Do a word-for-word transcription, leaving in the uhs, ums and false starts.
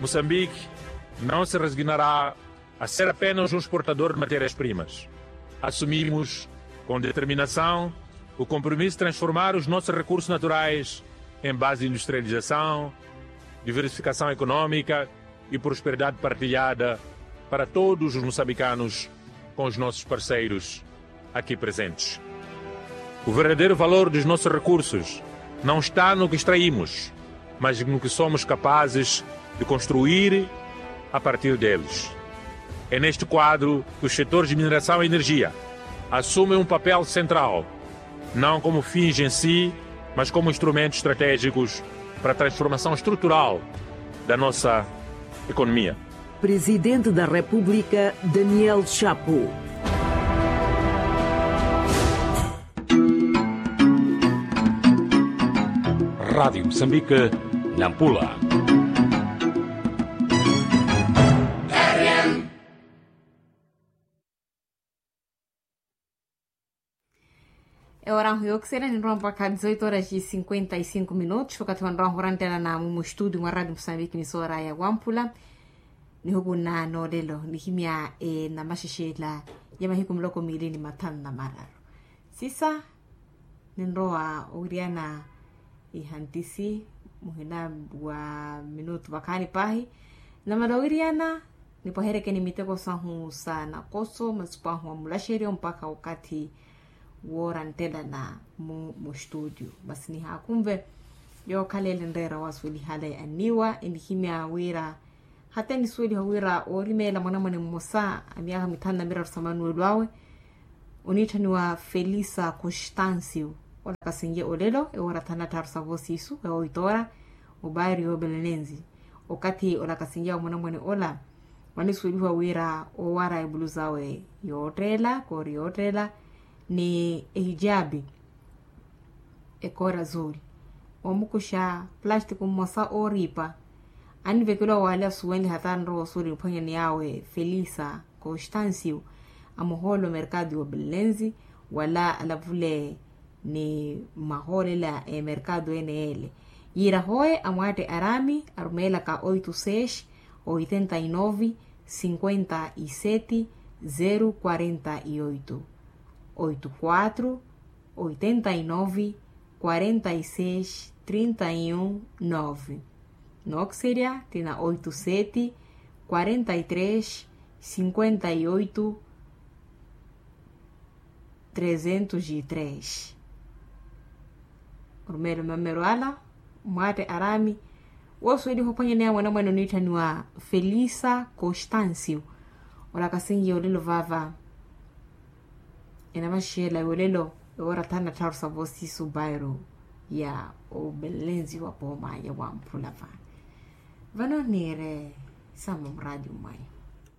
Moçambique não se resignará a ser apenas um exportador de matérias-primas. Assumimos com determinação o compromisso de transformar os nossos recursos naturais em base de industrialização, diversificação econômica e prosperidade partilhada para todos os moçambicanos com os nossos parceiros aqui presentes. O verdadeiro valor dos nossos recursos não está no que extraímos, mas no que somos capazes de construir a partir deles. É neste quadro que os setores de mineração e energia assumem um papel central, não como fins em si, mas como instrumentos estratégicos para a transformação estrutural da nossa economia. Presidente da República, Daniel Chapo. Rádio Moçambique, Nampula. Ehora ahu yookiserya ninrowa mpakha dezoito horas e cinquenta e cinco minutos okathi wanrowa ahu orantela na mumu estudio mwa radio musambiki ni soora ya wampula. Nihukunna noolelo nihimya enamaxexela ya mahiku muloko miili ni mathanu na mararu. Sisa ninrowa owiriyana ihantisi muhina wa minutu vakhaani paahi. Namala owiriyana nipwaheryeke ni miteko sahu sa nakoso masi pwahu wa mulaxeryo mpakha okathi woora nttelana mu mustudio masi nihaakhunve. Yookhala ele nreera wasuwelihale anniwa enihimya wira hata enisuweliha wira oorimeela mwanamwane mmosa a myaakha mithanu na miraru sa manuwelo awe oniitthaniwa felisa constancio. Olakasenye olelo ewoora thanu na tthaaru sa voosiisu ewoitora obaari yoobelenenzi okathi olakasenye wa mwanamwane ola wanisuwelihiwa wira owara ebuluza awe yootteela koori yootteela ni ehijabi ekoora zuuli omukuxa plastiku mmosa ooriipa. Anivekeliwa wale asuwenle hata anrowa osuwela niphwanyani yawe felisa constancio amuhoole omerkado yobelenzi wala alavule ni mahoolela emerkado ene ele yiira hoye amwaatte arami arumeelaka oito seis oitenta e nove cinquenta e sete zero quarenta e oito. Oito quatro oitenta e nove quarenta e seis trinta e um nove. Nookisirya tina oito sete quarenta e três cinquenta e oito trezentos e três. Orumelo mamero ala mwaatte arami woosuweliha ophwanyaneya mwanamwane oniitthaniwa felisa constancio. Olakasenye olelo vaava enamaxela yolelo ewoora thanu na tthaaru sa voosiisu bairo ya obelenzi wa pooma ya wamphula va. Vano niire samu muradio mwayo.